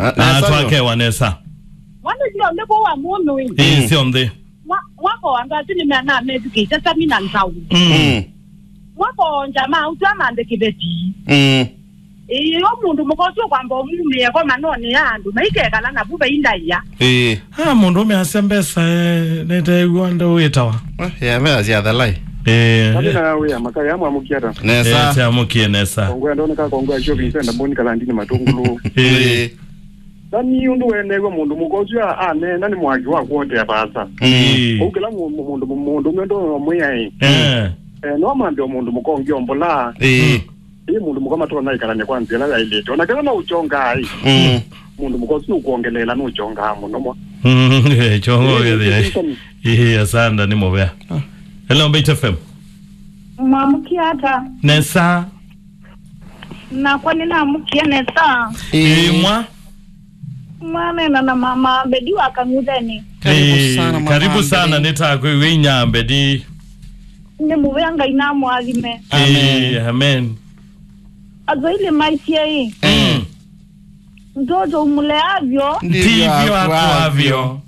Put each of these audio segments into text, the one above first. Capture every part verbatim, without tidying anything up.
Ah, nesa, twakewa nesa. Mwana sio nde kwa wa mũndũ ĩ. Ĩ, sio nde. Mwa-, mwako andũ asu nĩmena methukĩte sami na nzau. Mm. Mm. Mwako nja ma ũtwa mande kĩveti. Mm. Ĩĩ, o mũndũ mũka ũsu kwamba ũmumĩe kwa manone ya andũ maikekala navu vaindaia. Ĩĩ. Ah, mũndũ ũme asya mbesa, eh, nĩteew'a ndũ wĩtawa. Eh, ya mea cia thalai. Ĩĩ. Kami na wĩa makaya amwamũkia ata. Nesa. Eh, tiamũkie nesa. Kongwe andoneka kongwe acio Vincent Mboni kalandini matungulu. Ĩĩ. Ĩĩ. Nani ũndũ weneew'a mũndũ mũka ũsu a-, aneena nĩ mwaki wa kuotea vaasa. Mm. Ĩĩ. Kũu kĩla mũ-, mũ-, mũndũ, mũ-, mũndũ ũmwe ndũmwĩa ĩ. Eh. Eh, no mambe o mũndũ mũka ũngĩ ombolaa. Ĩĩ. Mm. Ĩĩ, mũndũ mũka matonya ĩkalany'a kwa nzĩa ĩla yaĩlĩte. Ona kana no ũkyongaa ĩ. Mm. Mũndũ mũka ũsu nũkwongeleela nũkyongaa mũno mwa. Mm, eh, kyongo. Ĩĩ, gĩthĩa. Ĩĩ, ĩĩ, asanda nĩ mũvea. Ah. Hello, Mbaitu F M. Mwamũkia ata? Nesa. Nakwa nĩnamũkie nesa. Ĩĩ. Ĩĩ, mwa. Mwanena na mama Mbedi wa Kang'utheni. Karibu sana, mama Mbedi. Ĩĩ, karibu sana, nĩtakwĩw'a inyambedi. Nĩ mũvea Ngai namwathime. Amen. Ĩĩ, amen. Aswahili maitie ĩ. Mm. Mtoto umleavyo. Ndivyo akuavyo. Ndivyo akuavyo.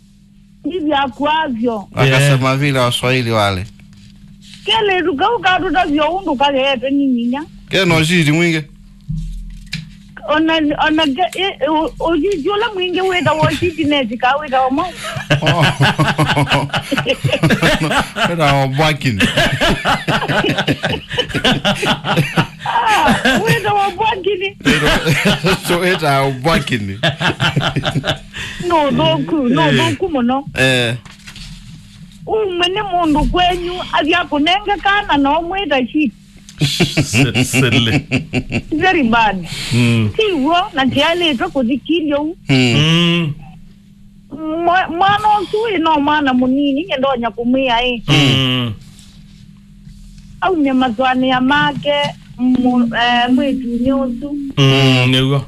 Ndivyo akuavyo. Wakasema vile Waswahili wale. Kelĩtu kau katũtavya ũndũ kageete nĩ nyinya. Kena ũciti mwingĩ. Ona, ona ke, e, e, ũ-, ũciti ũla mwingĩ wĩtawa ũciti neti ka wĩtawa mau. Oh. Wĩtawa barking. Ah, wĩtawa barking. Wĩtawa, so wĩtawa barking. No thũku, no thũku mũno. Eh. Umwe nĩ mũndũ kwenyu athi akũnenge kana na ũmwĩta shit. Silly. Very bad. Mm. Ti w'o, na tialĩtwe kũthikilya ũu. Mm. Mm. Mwa-, mwana ũsu ĩ no mwana mũnini, nye ndonya kũmwĩa ĩ. Mm. Aumye maswanĩa make mũ-, eh, mwĩtunĩ ũsu. Mm, nĩw'o.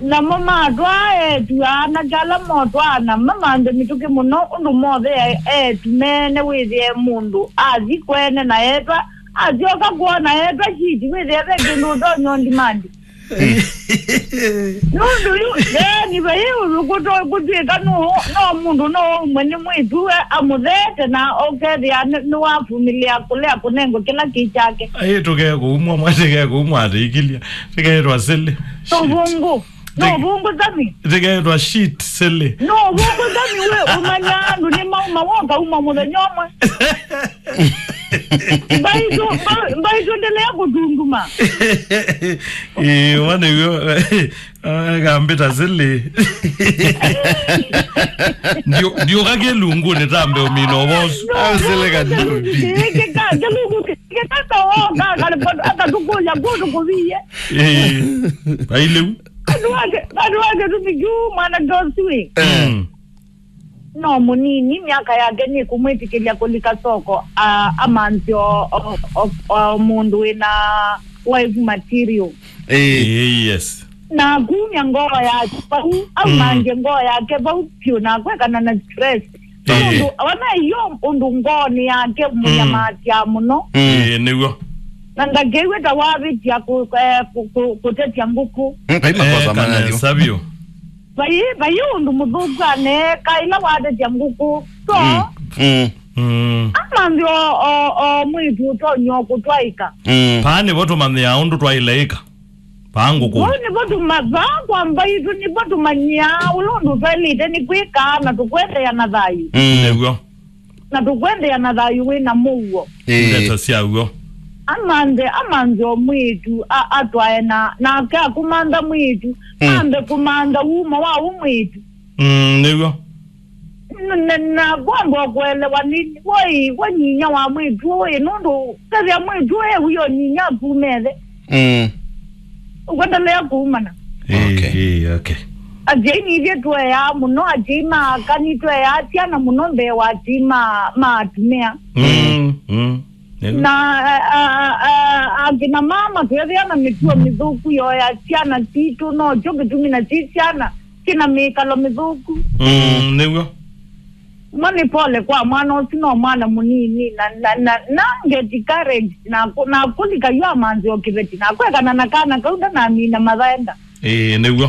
Namo matwaa eĩtu anake ala motwaana mamanthe mĩtũkĩ mũno, ũndũ mothe eĩtu meene wĩthĩe mũndũ athi kwene na etwa, asyoka kwona etwa shiti, wĩthĩe ve kĩndũ ũtonya ũndimandi. Nũndũ yu, eni vai ũthũkũ to kũtw'ĩka nũ, no mũndũ no ũmwe nĩ mwĩtu we amũtheete na ũkethĩa nĩ, nĩwavumĩlĩa kũlea kũnengwa kĩla kĩ kyake. Aĩ tũkee kũumwa mwa, tũkee kũumwa atĩikilya. Tũkeetwa silly. Shit. Tũvũngũ. No vũngũ sami. Tũkeetwa shit, silly. No vũngũ sami we ũmanya andũ nĩ mauma woka uma mũthenya ũmwe. Mbaitũ, mba-, mbaitũ ndelea kũtunduma. Ĩĩ, wana w'o, ah, kambĩta silly. Ndio, ndio kake lungu nĩ tambe ũmino bosu. Au silly ka ndio. Kĩka, kĩlungu kĩka, kaka, akatukuya kũndũ kũviye. Ĩĩ, aileu. Andũ ake, andũ ake tumikiu mwana ndosu ĩ. Mm. No mũnini, myaka yake nĩkũmwĩtĩkĩlya kũlika soko, a-, amanthe o, o, o, o mũndũ wĩna wife material. Ĩĩ. Ĩĩ, yes. Na akumya ngoo yake vau, aumangye ngoo yake vau vyũ na akwekana na stress. Ĩĩ. Ũndũ, ona iyo ũndũ ngoonĩ yake mũnyamaasya mũno. Mm. Ĩĩ, nĩw'o. Na ndakew'e ta wavĩtya kũ-, eh, kũ-, kũ-, kũtetya ngũkũ. Mm, kai makosa. Eh, manyayo. Kana savio. Vai, vai ũndũ mũthũku aneeka ĩla watetya ngũkũ. So, mm. Mm. Mm. Amanthe o, o, o mwĩtu ũtonya o kũtwaĩka. Mm. Paa nĩvo tũmanyĩaa ũndũ twaĩle ĩka. Paa ngũkũ. Vau nĩvo tũma-, vaa kwa mbaitũ nĩvo tũmanyĩaa ũla ũndũ twaĩlĩte nĩ kwĩka na tũkwendeea na thayũ. Mm. Nĩw'o. Na tũkwendeea na thayũ wĩ na mũuo. Ĩĩ. Ndeto sya w'o. Amanthe, amanthe o mwĩĩtu, a-, atwae na, nake akũmantha mwĩĩtu, mm, ambe kũmantha wumo wa ũ mwĩĩtu. Mm, nĩw'o. N-, na, na kwamba kũelewa nĩ, woi, we nyinya wa mwĩĩtu ũyũ, nũndũ kethĩa mwĩĩtu ũyũ ewi o nyinya akumethe. Mm. Ũkwendelea kuumana. Okay. Ĩĩ, ĩĩ, okay. Asyai nithyĩ tũeaa mũno, asyai ma aka nĩtũeaa syana mũno mbee wa asyai ma, ma atumĩa. Mm, mm. Nĩw'o. Na, a, a, a, akina mama twĩthĩa na mĩtuo mĩthũku yoya syana sitũ, nokyo kĩtumi na si syana syĩna mĩkalo mĩthũku. Mm, nĩw'o. Mo nĩ pole kwa mwana ũsu, no mwana mũnini, na, na, na, na get courage, na kũ-, na kũlika yu amanzi o kĩveti, na kwekana na kana kau ndanamina mathaenda. Ĩĩ, nĩw'o.